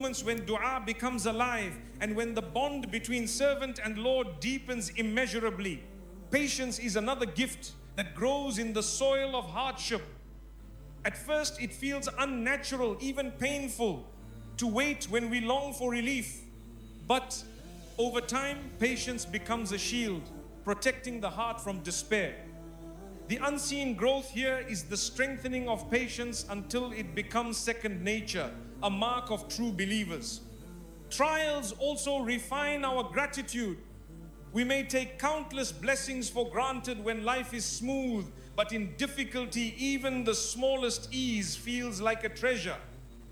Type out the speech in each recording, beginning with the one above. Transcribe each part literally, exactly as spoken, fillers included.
Moments when dua becomes alive and when the bond between servant and Lord deepens immeasurably. Patience is another gift that grows in the soil of hardship. At first, it feels unnatural, even painful, to wait when we long for relief. But over time, patience becomes a shield, protecting the heart from despair. The unseen growth here is the strengthening of patience until it becomes second nature, a mark of true believers. Trials also refine our gratitude. We may take countless blessings for granted when life is smooth, but in difficulty, even the smallest ease feels like a treasure.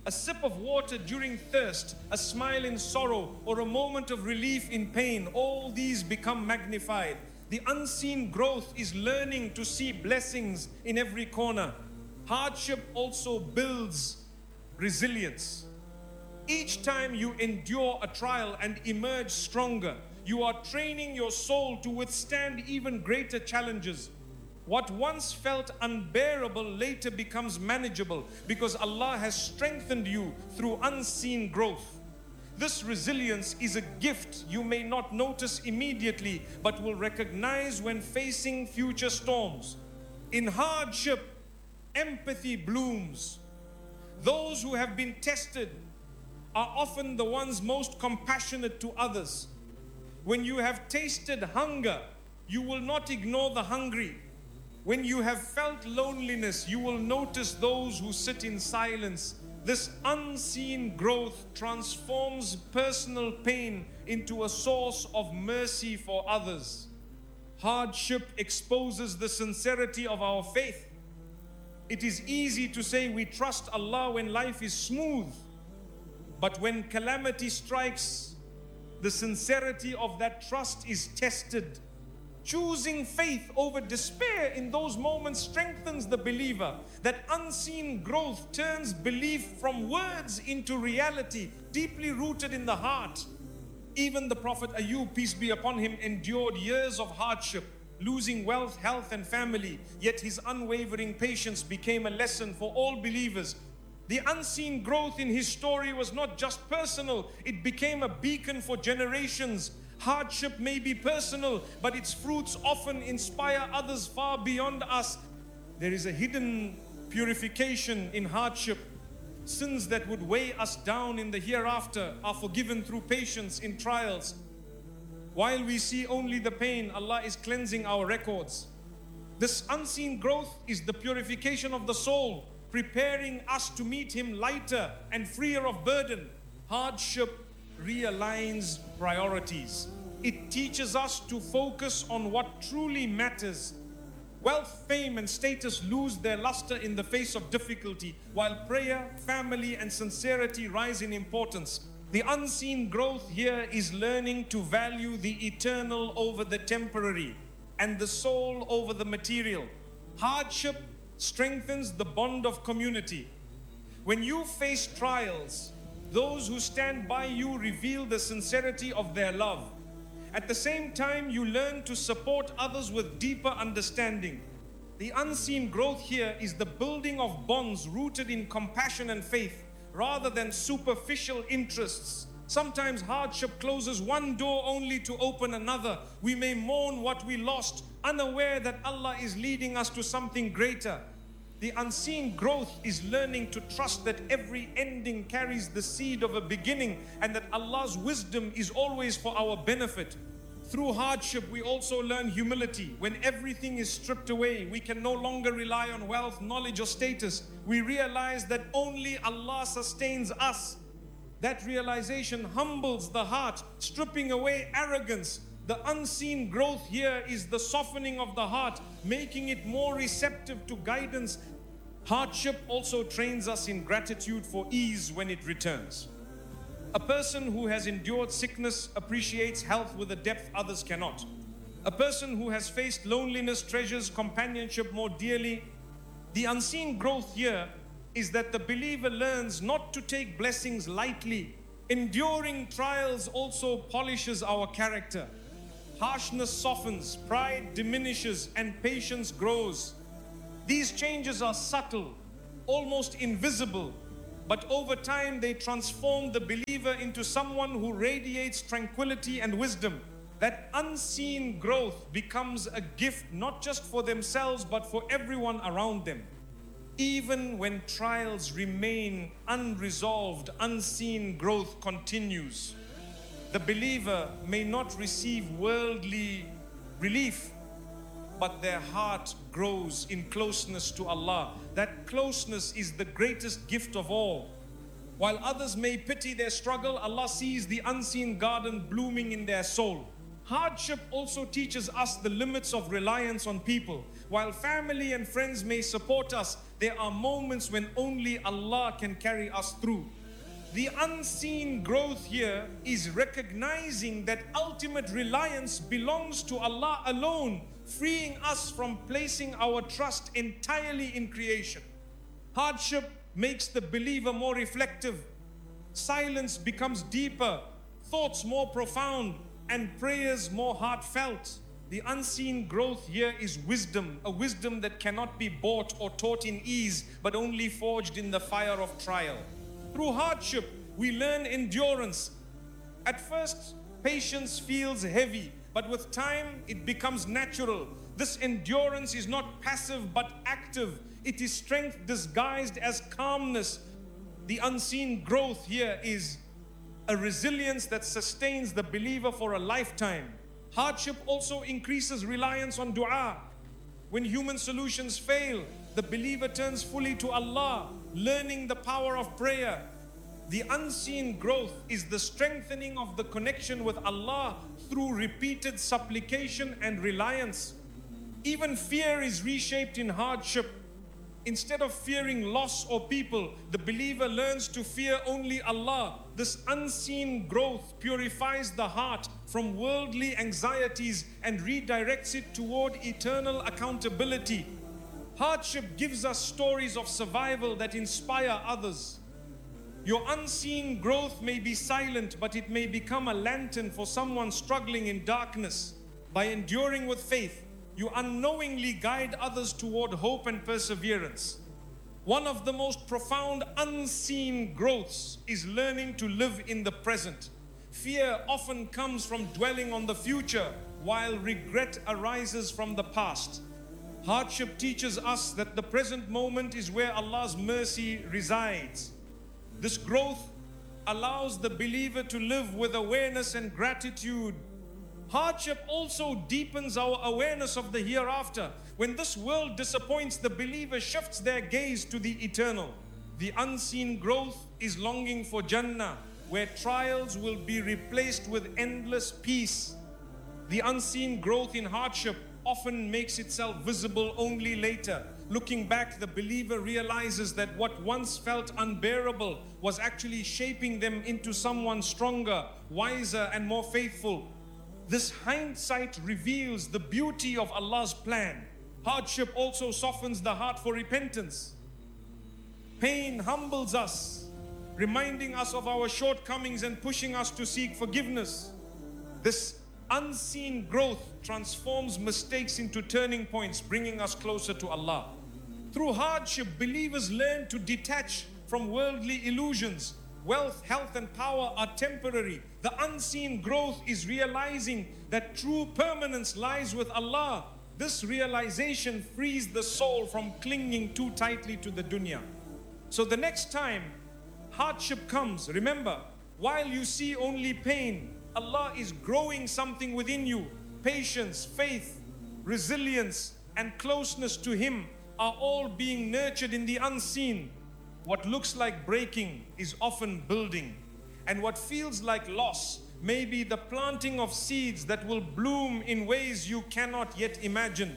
A sip of water during thirst, a smile in sorrow, or a moment of relief in pain, all these become magnified. The unseen growth is learning to see blessings in every corner. Hardship also builds resilience. Each time you endure a trial and emerge stronger, you are training your soul to withstand even greater challenges. What once felt unbearable later becomes manageable because Allah has strengthened you through unseen growth. This resilience is a gift you may not notice immediately but will recognize when facing future storms. In hardship, empathy blooms. Those who have been tested are often the ones most compassionate to others. When you have tasted hunger, you will not ignore the hungry. When you have felt loneliness, you will notice those who sit in silence. This unseen growth transforms personal pain into a source of mercy for others. Hardship exposes the sincerity of our faith. It is easy to say we trust Allah when life is smooth, but when calamity strikes, the sincerity of that trust is tested. Choosing faith over despair in those moments strengthens the believer. That unseen growth turns belief from words into reality, deeply rooted in the heart. Even the Prophet Ayub, peace be upon him, endured years of hardship, losing wealth, health, and family. Yet his unwavering patience became a lesson for all believers. The unseen growth in his story was not just personal, it became a beacon for generations. Hardship may be personal, but its fruits often inspire others far beyond us. There is a hidden purification in hardship. Sins that would weigh us down in the hereafter are forgiven through patience in trials. While we see only the pain, Allah is cleansing our records. This unseen growth is the purification of the soul, preparing us to meet Him lighter and freer of burden. Hardship realigns priorities. It teaches us to focus on what truly matters. Wealth, fame, and status lose their luster in the face of difficulty, while prayer, family, and sincerity rise in importance. The unseen growth here is learning to value the eternal over the temporary and the soul over the material. Hardship strengthens the bond of community. When you face trials, those who stand by you reveal the sincerity of their love. At the same time, you learn to support others with deeper understanding. The unseen growth here is the building of bonds rooted in compassion and faith, rather than superficial interests. Sometimes hardship closes one door only to open another. We may mourn what we lost, unaware that Allah is leading us to something greater. The unseen growth is learning to trust that every ending carries the seed of a beginning and that Allah's wisdom is always for our benefit. Through hardship, we also learn humility. When everything is stripped away, we can no longer rely on wealth, knowledge, or status. We realize that only Allah sustains us. That realization humbles the heart, stripping away arrogance. The unseen growth here is the softening of the heart, making it more receptive to guidance. Hardship also trains us in gratitude for ease when it returns. A person who has endured sickness appreciates health with a depth others cannot. A person who has faced loneliness treasures companionship more dearly. The unseen growth here is that the believer learns not to take blessings lightly. Enduring trials also polishes our character. Harshness softens, pride diminishes, and patience grows. These changes are subtle, almost invisible, but over time they transform the believer into someone who radiates tranquility and wisdom. That unseen growth becomes a gift not just for themselves but for everyone around them. Even when trials remain unresolved, unseen growth continues. The believer may not receive worldly relief, but their heart grows in closeness to Allah. That closeness is the greatest gift of all. While others may pity their struggle, Allah sees the unseen garden blooming in their soul. Hardship also teaches us the limits of reliance on people. While family and friends may support us, there are moments when only Allah can carry us through. The unseen growth here is recognizing that ultimate reliance belongs to Allah alone, freeing us from placing our trust entirely in creation. Hardship makes the believer more reflective. Silence becomes deeper, thoughts more profound, and prayers more heartfelt. The unseen growth here is wisdom, a wisdom that cannot be bought or taught in ease, but only forged in the fire of trial. Through hardship, we learn endurance. At first, patience feels heavy, but with time, it becomes natural. This endurance is not passive, but active. It is strength disguised as calmness. The unseen growth here is a resilience that sustains the believer for a lifetime. Hardship also increases reliance on dua. When human solutions fail, the believer turns fully to Allah, learning the power of prayer. The unseen growth is the strengthening of the connection with Allah through repeated supplication and reliance. Even fear is reshaped in hardship. Instead of fearing loss or people, the believer learns to fear only Allah. This unseen growth purifies the heart from worldly anxieties and redirects it toward eternal accountability. Hardship gives us stories of survival that inspire others. Your unseen growth may be silent, but it may become a lantern for someone struggling in darkness. By enduring with faith, you unknowingly guide others toward hope and perseverance. One of the most profound unseen growths is learning to live in the present. Fear often comes from dwelling on the future, while regret arises from the past. Hardship teaches us that the present moment is where Allah's mercy resides. This growth allows the believer to live with awareness and gratitude. Hardship also deepens our awareness of the hereafter. When this world disappoints, the believer shifts their gaze to the eternal. The unseen growth is longing for Jannah, where trials will be replaced with endless peace. The unseen growth in hardship often makes itself visible only later. Looking back, the believer realizes that what once felt unbearable was actually shaping them into someone stronger, wiser, and more faithful. This hindsight reveals the beauty of Allah's plan. Hardship also softens the heart for repentance. Pain humbles us, reminding us of our shortcomings and pushing us to seek forgiveness. This unseen growth transforms mistakes into turning points, bringing us closer to Allah. Through hardship, believers learn to detach from worldly illusions. Wealth, health, and power are temporary. The unseen growth is realizing that true permanence lies with Allah. This realization frees the soul from clinging too tightly to the dunya. So the next time hardship comes, remember, while you see only pain, Allah is growing something within you. Patience, faith, resilience, and closeness to Him are all being nurtured in the unseen. What looks like breaking is often building, and what feels like loss may be the planting of seeds that will bloom in ways you cannot yet imagine.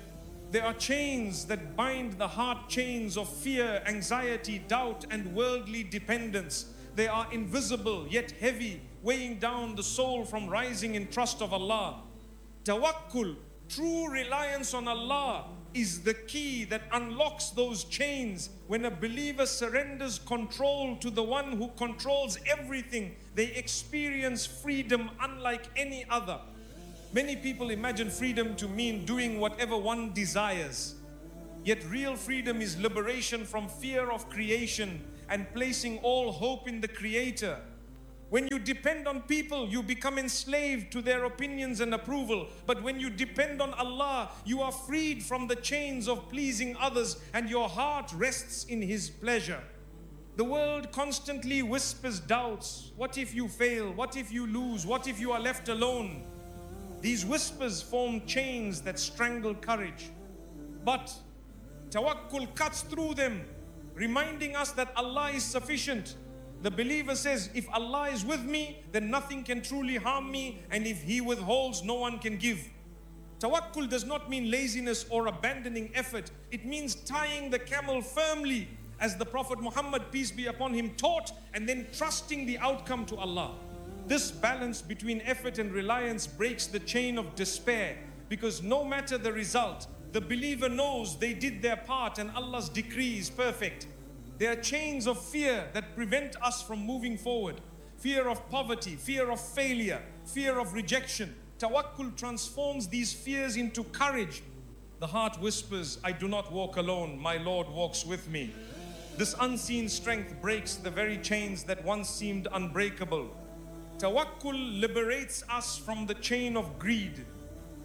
There are chains that bind the heart, chains of fear, anxiety, doubt, and worldly dependence. They are invisible yet heavy, weighing down the soul from rising in trust of Allah. Tawakkul, true reliance on Allah, is the key that unlocks those chains. When a believer surrenders control to the one who controls everything, they experience freedom unlike any other. Many people imagine freedom to mean doing whatever one desires. Yet real freedom is liberation from fear of creation and placing all hope in the Creator. When you depend on people, you become enslaved to their opinions and approval. But when you depend on Allah, you are freed from the chains of pleasing others and your heart rests in His pleasure. The world constantly whispers doubts. What if you fail? What if you lose? What if you are left alone? These whispers form chains that strangle courage. But tawakkul cuts through them, reminding us that Allah is sufficient. The believer says, if Allah is with me, then nothing can truly harm me, and if He withholds, no one can give. Tawakkul does not mean laziness or abandoning effort. It means tying the camel firmly, as the Prophet Muhammad, peace be upon him, taught, and then trusting the outcome to Allah. This balance between effort and reliance breaks the chain of despair, because no matter the result, the believer knows they did their part and Allah's decree is perfect. There are chains of fear that prevent us from moving forward. Fear of poverty, fear of failure, fear of rejection. Tawakkul transforms these fears into courage. The heart whispers, I do not walk alone, my Lord walks with me. This unseen strength breaks the very chains that once seemed unbreakable. Tawakkul liberates us from the chain of greed.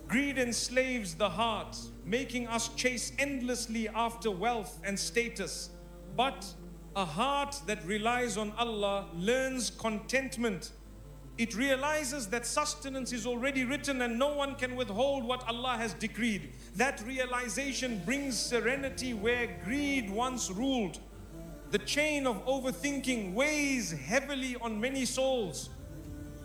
Greed enslaves the heart, making us chase endlessly after wealth and status. But a heart that relies on Allah learns contentment. It realizes that sustenance is already written and no one can withhold what Allah has decreed. That realization brings serenity where greed once ruled. The chain of overthinking weighs heavily on many souls.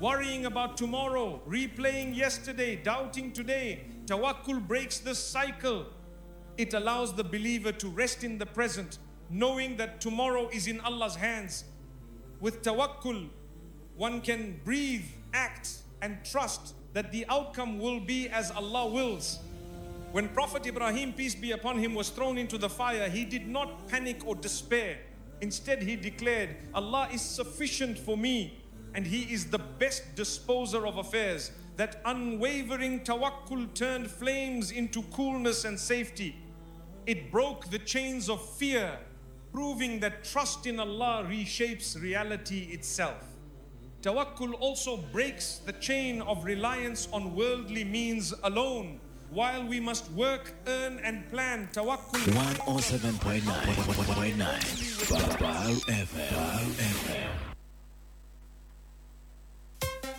Worrying about tomorrow, replaying yesterday, doubting today. Tawakkul breaks this cycle. It allows the believer to rest in the present, knowing that tomorrow is in Allah's hands. With tawakkul, one can breathe, act, and trust that the outcome will be as Allah wills. When Prophet Ibrahim, peace be upon him, was thrown into the fire, he did not panic or despair. Instead, he declared, Allah is sufficient for me, and He is the best disposer of affairs. That unwavering tawakkul turned flames into coolness and safety. It broke the chains of fear, proving that trust in Allah reshapes reality itself. Tawakkul also breaks the chain of reliance on worldly means alone. While we must work, earn, and plan, tawakkul. one oh seven point nine F M.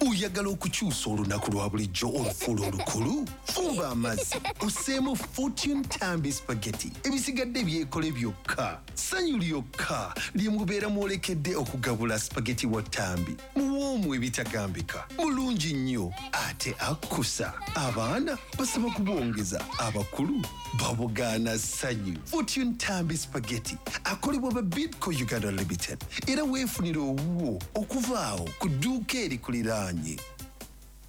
Oyagala okukyusa olunaku lwa bulijjo olufuula olukulu? Fumba amazzi osseemu Fortune Tambi Spaghetti, ebisigadde byekole byokka. Ssanyu lyokka lye mubeera mwolekedde okugabula spaghetti wa Tambi. Muwoomu ebitagambika, mulungi nnyo ate akkusa. Abaana basaba kubongeza, abakulu babugaana ssanyu. Fortune Tambi Spaghetti akolebwa ba Bidco Uganda Limited, era weefunire owuwo okuva awo ku dduuka erikuliraanye.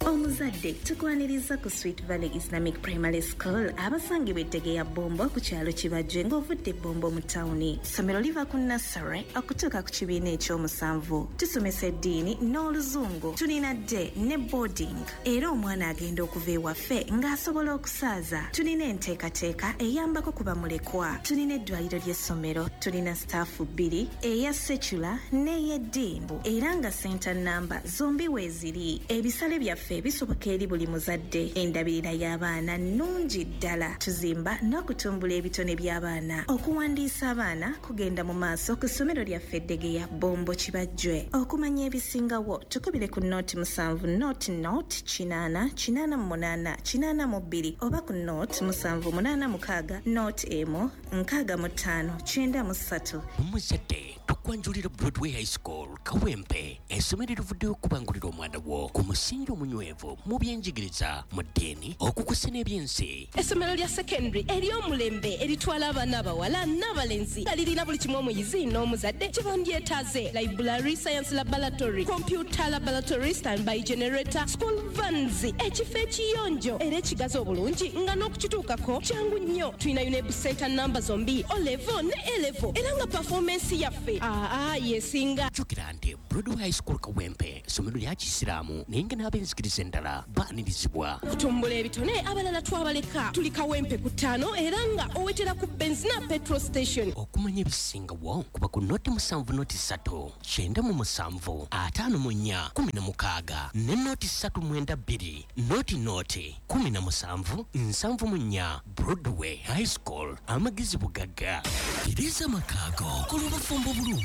Omuzadde tukwaniriza ku Sweet Valley Islamic Primary School abasangibwa ettege ya Bombo ku kyalo Kibajje ng'ovudde Bombo mu tawuni. Ssomero liva ku nursery okutuuka ku kibiina ekyomusanvu. Tusomesa eddiini n'oluzungu. Tulina day ne boarding. Era omwana agenda okuva ewaffe ng'asobola okusaaza. Tulina enteekateeka eyambako ku bamulekwa. Tulina eddwaliro ly'essomero. Tulina staafu bbiri, eya secular n'ey'eddiini. Era nga center number zombi weeziri. Ebisale byaffe bisoboka eri buli muzadde. Endabirira y'abaana nnungi ddala. Tuzimba n'okutumbula ebitone by'abaana. Okuwandiisa abaana kugenda mu maaso ku ssomero lyaffe Eddegeya Bombo Kibajjwe. Okumanya ebisingawo tukubire ku nooti musanvu nooti nooti kinaana kinaana mu munaana kinaana mu bbiri oba ku nooti musanvu munaana mukaaga nooti emu nkaaga mu ttaano kyenda mu ssatu. Omuzadde tukwanjulira Broadway High School Kawempe, essomero erivuddeyo okubangulira omwana wo ku musingi omunywevu mu byenjigiriza, mu ddiini, okukusa n'ebyensi. Essomero lya secondary ery'omulembe eritwala abaana abawala n'abalenzi nga lirina buli kimu omuyizi n'omuzadde kye bandyetaaze: library, science laboratory, computer laboratory, standby generator, school vans, ekifo ekiyonjo era ekigazi obulungi nga n'okukituukako kyangu nnyo. Tulina UNEB center namba zombi, O level ne A level, era nga performance yaffe Aa yesinga. Jjukira nti Broadway High School Kawempe ssomero lya Kisiraamu, naye nga n'ab'enzikiriza endala baanirizibwa. Okutumbula ebitone abalala twabaleka. Tuli Kawempe ku ttaano era nga owetera ku Benzina petrol station. Okumanya ebisingawo kuba ku noti musanvu noti ssatu kyenda mu musanvu ataano mu nnya kumi na mukaaga ne noti ssatu mwenda bbiri noti noti kumi na musanvu nsanvu mu nnya. Broadway High School, amagezi bugagga. Tereza amakaago kola obufumbo bulungi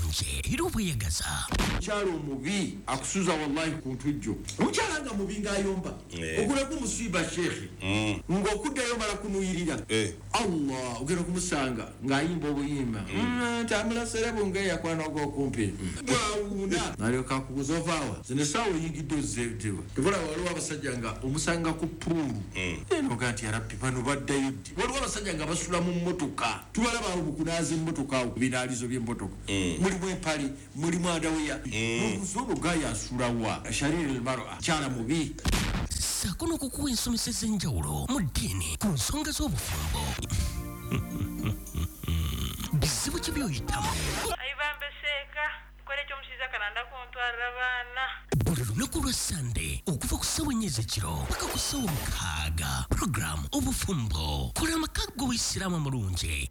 era obweyagaza. Omukyala omubi akusuza wallahi ku ntujjo. Omukyala nga mubi ng'ayomba ogulako omusiiba sheekhe ng'okuddayo mala kunuyirira Allah ogenda okumusanga ng'ayimba obuyimba ntamulasere bunge yakwana ogw'okumpi bwawuuna nalyoka akubuza ovaawa zino essaawa oyingidde ozzeetewa. Tebula waliwo abasajja nga omusanga ku puulu enoga nti yarabbi bano baddayo ddi. Waliwo abasajja nga basula mu mmotoka, tubalaba awo mukunaaza emmotoka awo ku binaalizo by'emmotoka mulimu empale mulimu andaweya n'obuuza ono gaaya asulawa shariri almar'a kyala mubi. Ssaako n'okukuwa ensomesa ez'enjawulo mu ddiini ku nsonga z'obufumbo. Bizibu ki by'oyitamu? Buli lunaku lwa Sande okuva ku ssaawa ennya ez'ekiro paka ku ssaawa mukaaga. Puroguramu Obufumbo, kola amaka g'Obuyisiraamu amulungi.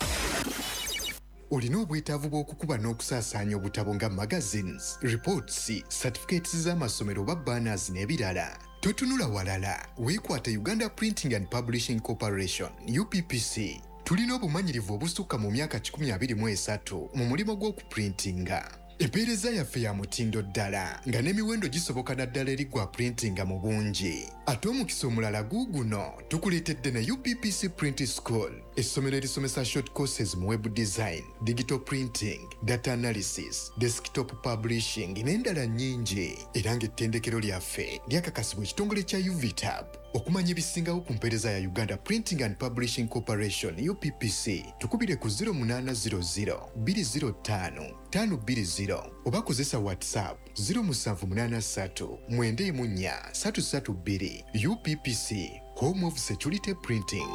Olina obwetaavu bw'okukuba n'okusaasaanya obutabo nga magazines, reports, certificates z'amasomero oba banners n'ebirala. Totunula walala, weekwate Uganda Printing and Publishing Corporation U P P C. Tulina obumanyirivu obusukka mu myaka kikumi abiri mu esatu mu mulimu gw'okuprintinga. Empeereza yaffe ya mutindo ddala nga n'emiwendo gisoboka naddala eri gwa printinga mu bungi. Ate omukisa omulala guuguno tukuleetedde ne U P P C Print School, essomero erisomesa short courses mu web design, digital printing, data analysis, desktop publishing n'endala nnyingi. Era ng'ettendekero lyaffe lyakakasibwa ekitongole kya U V T A B. Okumanya ebisingawo ku mpeereza ya Uganda Printing and Publishing Corporation U P P C, tukubire ku zero munaana zero zero bbiri zero ttaano ttaano bbiri zero oba kozesa WhatsApp zero musanvu munaana ssatu mwenda emu nnya ssatu ssatu bbiri. U P P C, Home of Security Printing.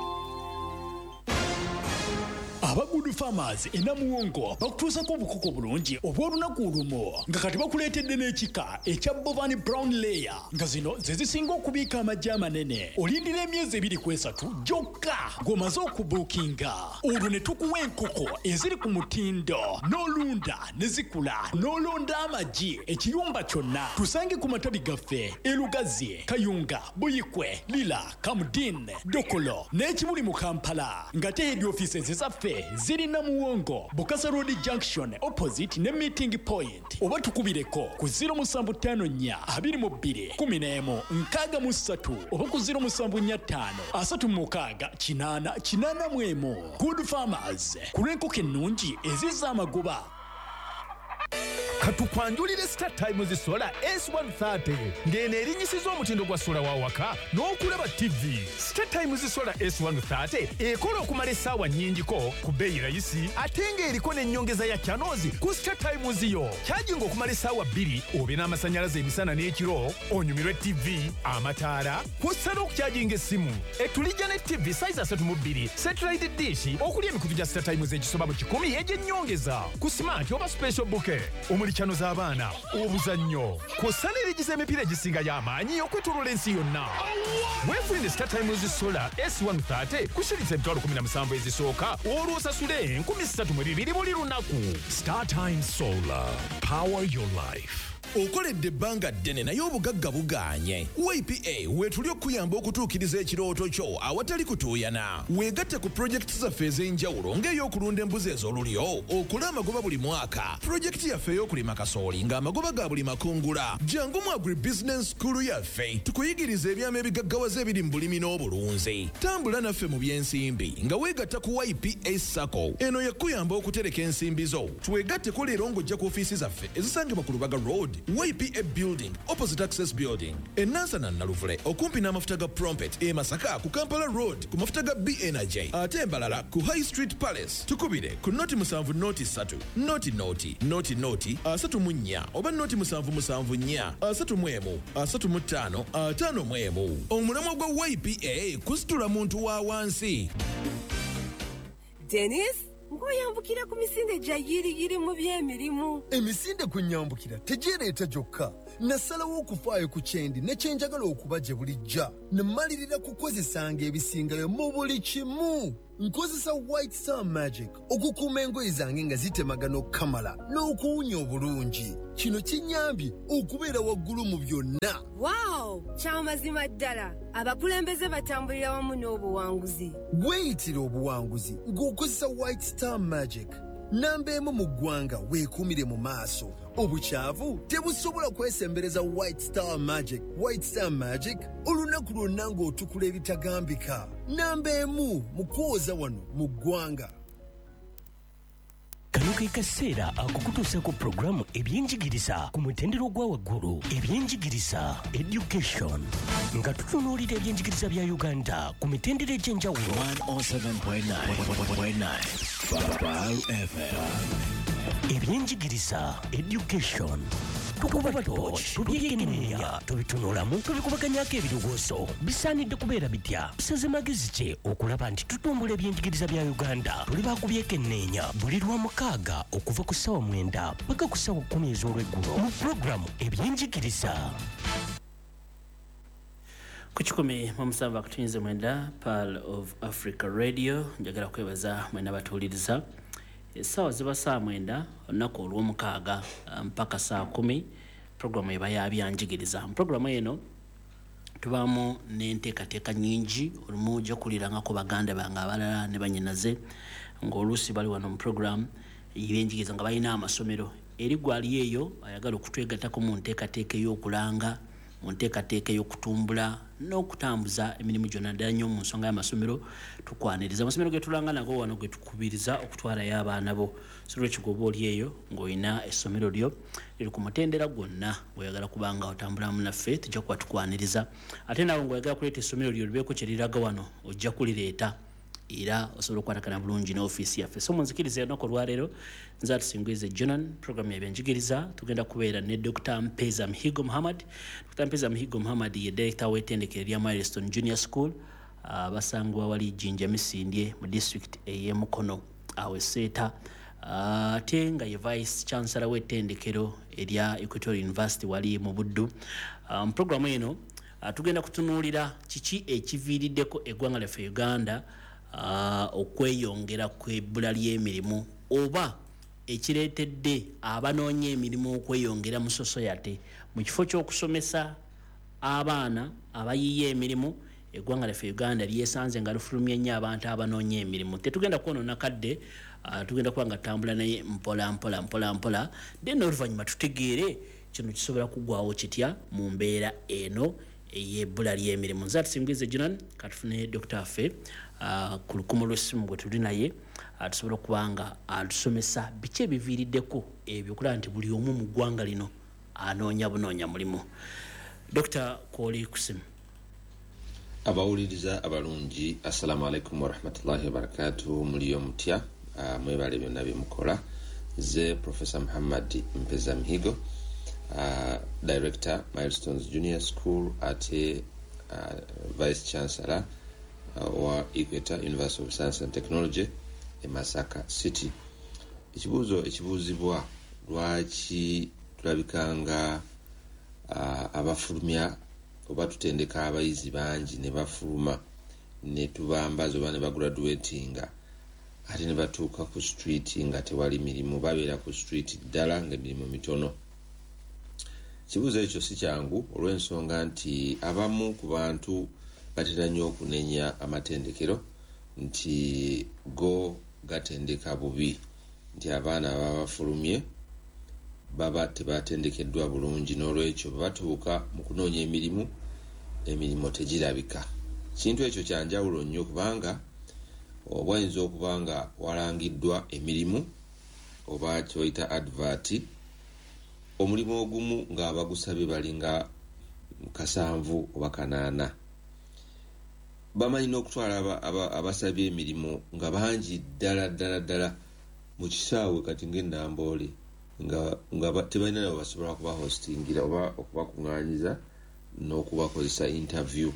Aba Good Farmers e Namuwongo bakutuusako obukoko bulungi obw'olunaku olumu nga kati bakuleetedde n'ekika ekya Bovani Brown Layer nga zino ze zisinga okubiika amagi amanene. Olindira emyezi ebiri ku esatu gyokka ng'omaze okubuukinga, olwo ne tukuwa enkoko eziri ku mutindo n'olunda ne zikula n'olonda amagi ekiyumba kyonna. Tusange ku matabi gaffe e Lugazi, Kayunga, Buyikwe, Lira, Kamudin, Dokolo n'ekibuli mu Kampala ng'ate head offices zaffe ziri Namuwongo, Bukasa Road Junction opposite ne meeting point, oba tukubireko ku zero musanvu ttaano nnya abiri mu bbiri kumi n'emu nkaaga mu ssatu oba ku zero musanvu nnya ttaano asatu mu mukaaga kinaana kinaana mu emu. Good Farmers, ku lw'enkoko ennungi ezizza amagoba. Katukwanjulire Star Times Solar S one thirty ng'eno erinnyisiza omutindo gwa sola wa waka n'okulaba T V. Star Times Solar S one thirty ekola okumala essaawa nnyingiko ku bbeeyi rayisi ate ng'eriko n'ennyongeza ya channels ku Star Times yo. Kyajinga okumala essaawa bbiri obe n'amasannyalaze emisana n'ekiro, onyumirwe T V, amataala, kw'ossa n'okukyajinga essimu. Etulijja ne T V size asatu mu bbiri, satellite dish okuli emikutu gya Star Times egisoba mu kikumi egy'ennyongeza ku smart oba special bouquet omuli channel z'abaana, obuzannyo, kw'ossa n'erigiza emipiira egisinga y'amaanyi okwetooloola ensi yonna. Weefunire Star Times Solar S one thirty ku shilingi emitwalo kumi na musanvu ezisooka olwo osasule enkumi ssatu mu bibiri buli lunaku. Star Times Solar, power your life. Okoledde ebbanga ddene naye obugagga bugaanye. Y P A weetuli okuyamba okutuukiriza ekirooto kyo awatali kutuuyana. Weegatte ku pulojekiti zaffe ez'enjawulo ng'ey'okulunda embuzi ez'olulyo, okola amagoba buli mwaka, pulojekiti yaffe ey'okulima kasooli ng'amagoba ga buli makungula. Jangu mu Agribusiness School yaffe tukuyigiriza ebyama ebigaggawaza ebiri mu bulimi n'obulunzi. Tambula naffe mu by'ensimbi nga weegatta ku Y P A SACCO. Eno yakuyamba okutereka ensimbi zo. Twegatteko leero ng'ojja ku ofiisi zaffe ezisangibwa ku Lubaga Road, Y P A Building, opposite Access Building, e Nansana Naluvule, okumpi n'amafuta ga Prompet, e Masaka ku Kampala Road, ku mafuta ga B Energy, ate Mbalala ku High Street Palace. Tukubire ku noti musanvu noti ssatu, noti noti, noti noti, asatu mu nnya, oba noti musanvu musanvu nnya, asatu mu emu, asatu mu ttaano, ataano mu emu. Omulamwa gwa Y P A kusitula muntu wa wansi. Dennis, Ng'oyambukira ku misinde gya yiriyiri mu by'emirimu. Emisinde kunyambukira tegyereeta gyokka. Nasalawo okufaayo ku kyendi ne kye njagala okuba gye bulijja. Ne mmalirira kukozesanga ebisingayo mu buli kimu. Nkozesa White Star Magic okukuuma engoye zange nga zitemagana okukamala n'okuwunya obulungi. Kino kinnyambye okubeera waggulu mu byonna. Wow! Kyamazima ddala. Abakulembeze batambulira wamu n'obuwanguzi. Weeyitira obuwanguzi ng'okozesa White Star Magic. Namba emu mu ggwanga weekuumire mu maaso. Obukyavu tebusobola kwesembereza White Star Magic. White Star Magic olunaku lwonna ng'otukula ebitagambika. Namba emu mu kwoza wano mu ggwanga. Kano ke kaseera akukutuusa ku pulogulaamu ebyenjigiriza ku mutendera ogwa waggulu. Ebyenjigiriza, education, nga tutunuulira ebyenjigiriza bya Uganda ku mitendera egy'enjawulo. one oh seven point nine Bar F M. Ebyenjigiriza, education, tukuba torch, tubyekenneenya, tubitunulamu, tubikubaganyako ebirowoozo. Bisaanidde kubeera bitya? Tusaze magezi ki okulaba nti tutumbula ebyenjigiriza bya Uganda? Tuli bakubyekenneenya buli lwa mukaaga okuva ku ssaawa mwenda paka ku ssaawa kkumi ez'olweggulo mu pulogulaamu ebyenjigiriza. Ku kikumi mu musanvu akutuyinze mwenda Pearl of Africa Radio. Njagala kwebaza mwena batuwuliriza. Essaawa ziba saa mwenda olunaku olw'omukaaga mpaka saa kumi, pulogulaamu eba ya byanjigiriza. Mu pulogulaamu eno tubaamu n'enteekateeka nnyingi. Olumu ojja kuwulirangako baganda bange abalala ne bannyinaze ng'oluusi bali wano mu pulogulaamu ebyenjigiriza nga balina amasomero. Eri gwali eyo ayagala okutwegattako mu nteekateeka ey'okulanga, mu nteekateeka ey'okutumbula n'okutambuza emirimu gyonna ddala nnyo mu nsonga y'amasomero, tukwaniriza. Amasomero ge tulanga nago wano ge tukubiriza okutwalayo abaana bo. So lwekyo oba oli eyo ng'olina essomero lyo liri ku mutendera gwonna ng'oyagala kuba nga otambulamu naffe, tujja kuba tukwaniriza. Ate naawe ng'oyagala kuleeta essomero lyo libeeko kye liraga wano, ojja kulireeta era osobola okukwatagana bulungi n'ofiisi yaffe. So munzikirize olunaku olwaleero nze Atusingwize Jonan, pulogulaamu y'ebyenjigiriza. Tugenda kubeera ne Doctor Mpeza Mihigo Muhammad. Doctor Mpeza Mihigo Muhammad ye director w'ettendekero erya Milestone Junior School, basangibwa wali Jinja Misindye mu district ey'e Mukono awo e Seeta, ate nga ye vice chancellor w'ettendekero erya Equatorial University wali mu Buddu. Mu pulogulaamu eno tugenda kutunuulira kiki ekiviiriddeko eggwanga lyaffe Uganda Uh, okweyongera kw'ebbula ly'emirimu oba ekireetedde abanoonya emirimu okweyongera mu society. Mu kifo ky'okusomesa abaana abayiiya emirimu, eggwanga lyaffe Uganda lyesanze nga lifulumya nnyo abantu abanoonya emirimu. Tetugenda kwonoona kadde, uh, tugenda kuba nga tutambula naye mpola mpola mpola mpola, then oluvannyuma tutegeere kino kisobola kuggwawo kitya mu mbeera eno ey'ebbula ly'emirimu. Nze Atusingwize Jonan, katufune Doctor waffe Uh, ku lukumo lw'essimu gwe tuli naye tusobola okuba nga atusomesa biki ebiviiriddeko ebyo okulaba nti buli omu mu ggwanga lino anoonya bunoonya mulimu. Doctor kwoli ku ssimu. Abawuliriza abalungi, assalamu alaikum warahmatullahi wabarakatuh. Muliyo mutya? Uh, mwebale byonna bye mukola. Nze Professor Muhammad Mpeza Mihigo, uh, Director Milestones Junior School ate uh, Vice Chancellor wa Equator University of Science and Technology e Masaka City. Ekibuuzo ekibuuzibwa, lwaki tulabikanga uh, abafulumya oba tutendeka abayizi bangi ne bafuluma ne tubambaza oba ne bagraduatinga ate ne batuuka ku street nga tewali mirimu, babeera ku street ddala nga emirimu mitono. Ekibuuzo ekyo si kyangu olw'ensonga nti abamu ku bantu batera nnyo okunenya amatendekero nti go gatendeka bubi, nti abaana baba bafulumye baba tebatendekeddwa bulungi, n'olwekyo batuuka mu kunoonya emirimu, emirimu tegirabika. Kintu ekyo kya njawulo nnyo kubanga oba oyinza okuba nga walangiddwa emirimu oba kyoyita advert, omulimu ogumu ng'abagusabye balinga kasanvu oba kanaana. Bamanyi n'okutwala abasabye emirimu nga bangi ddala ddala ddala mu kisaawe kati ng'ennamboole nga nga tebalina nabo basobola kubahostingira oba okubakuŋŋaanyiza n'okubakozesa interview.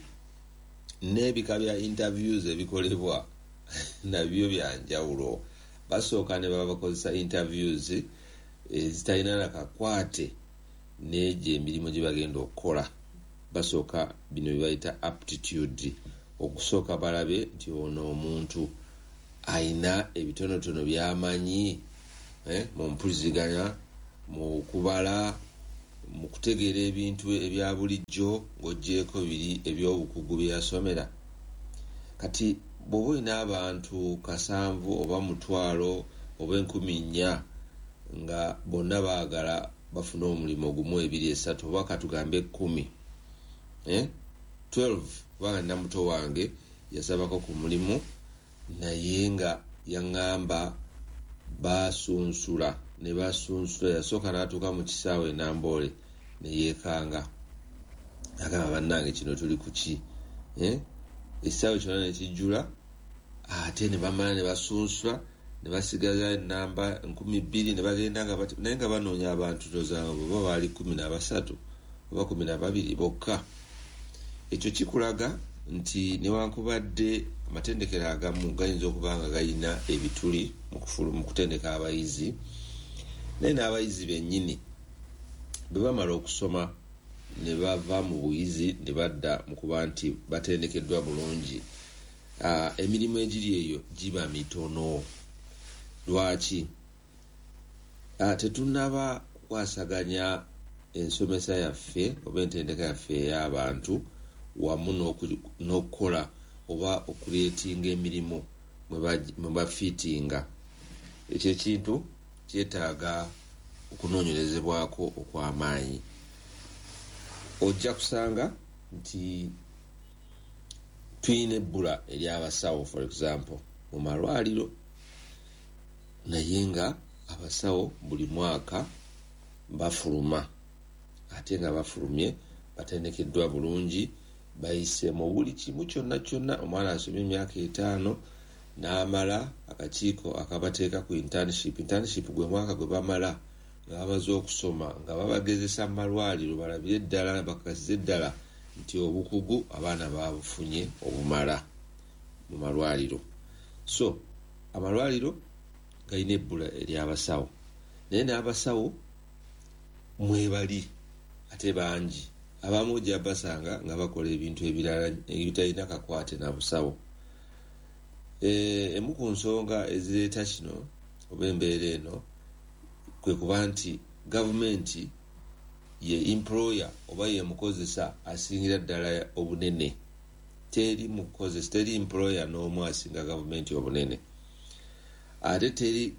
N'ebika bya interviews ebikolebwa nabyo bya njawulo. Basooka ne babakozesa interviews ezitalina na kakwate n'egyo emirimu gye bagenda okukola. Basooka bino bye bayita aptitude, okusooka balabe nti ono omuntu ayina ebitonotono by'amanyi eh, mu mpuliziganya, mu kubala, mu kutegeera ebintu ebya bulijjo ng'oggyeeko biri ebyobukugu bye yasomera. Kati bw'oba olina abantu kasanvu oba mutwalo oba enkumi nnya nga bonna baagala bafune omulimu gumu, ebiri, esatu oba katugambe ekkumi, eh? twelve, kubanga nina muto wange yasabako ku mulimu naye nga yaŋŋamba basunsula ne basunsula. Yasooka n'atuuka mu kisaawe e Namboole ne yeekanga, agamba bannange kino tuli ku ki, eh? Ekisaawe kyonna ne kijjula, ate ne bamala ne basunsula ne basigaza enamba nkumi bbiri ne bagenda nga naye nga banoonya abantu tozanga oba baali kumi na basatu oba kumi na babiri bokka. Ekyo kikulaga nti newankubadde amatendekero agamu gayinza okuba nga galina ebituli mu kutendeka abayizi, naye n'abayizi bennyini bwe bamala okusoma ne bava mu buyizi ne badda mu kuba nti batendekeddwa bulungi, emirimu egiri eyo giba mitono. Lwaki? Tetunnaba kukwasaganya ensomesa yaffe oba entendeka yaffe ey'abantu wamu n'okukola oba okuleetinga emirimu mwe bafiitinga. Ekyo ekintu kyetaaga okunoonyerezebwako okw'amaanyi. Ojja kusanga nti tulina ebbula ery'abasawo, for example, mu malwaliro, naye nga abasawo buli mwaka bafuluma, ate nga bafulumye batendekeddwa bulungi, bayise mu buli kimu kyonna kyonna. Omwana asomye emyaka etaano n'amala akakiiko akabateeka ku internship. Internship gwe mwaka gwe bamala nga bamaze okusoma, nga babagezesa mu malwaliro balabire ddala, bakakasize ddala nti obukugu abaana babufunye obumala mu malwaliro. So amalwaliro galina ebbula ery'abasawo, naye n'abasawo mwebali ate bangi. Abamu ojja basanga nga bakola ebintu ebirala ebitalina kakwate na busawo. Emu ku nsonga ezireeta kino oba embeera eno kwe kuba nti gavumenti ye employer oba ye mukozesa asingira ddala obunene. Teri mukozesa, teri employer n'omu asinga gavumenti obunene, ate teri